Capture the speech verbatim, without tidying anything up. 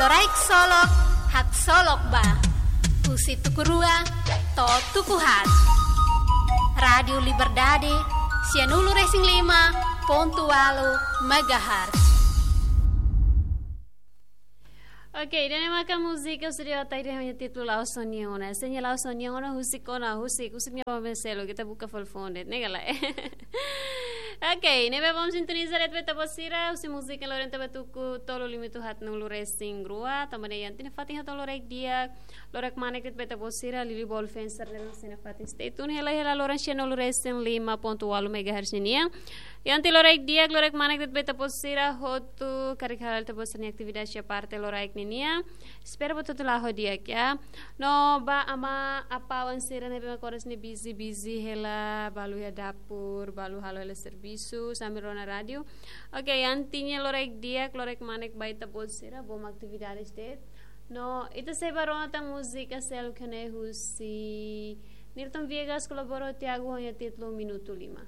Loraik Solok, haksolok ba. Husi tuku rua to'o tuku haat. Rádiu Liberdade, sianulu-resin-lima pontu ualu megahertz. Oke, ida-ne'e maka múzika husi Dio Ataire ho nia títulu La'ós Ó-nian Ona. Se nia la'ós ó-nian ona, husik ona, husik, husik nia ba mezelu, ita buka fali foun de'it, ne'e ka lae? Oke, ne'ebé bom sintoniza de'it ba ita-boot sira, husi múzika loron ita ba tuku tolu limitu haatnulu-resin-rua, tanba ne'e iha tiha ona fatin hato'o loraik di'ak, loraik kmanek de'it ba ita-boot sira, liuliu ba Olfenser ne'e, sira nafatin stay tune hela hela loron sianulu-resin-lima pontu ualu megahertz nian. Iha tiha ona loraik di'ak, loraik kmanek de'it ba ita-boot sira hotu, karik hala'o ita-boot sira-nia atividade iha parte loraik ninian. Espera ba hotu-hotu la'o ho di'ak, ya. No ba amá apá oan sira ne'ebé mak oras ne'e busy, busy hela, balu iha dapur, balu halo hela servisu, sambil rona rádiu. Oke, iha tiha ona loraik di'ak, loraik kmanek ba ita-boot sira, bom atividades de'it. No, ita sei bá rona tan múzika seluk ne'e husi Nilton Viegas kolabora ho Tiago ho nia títulu Minutu Lima.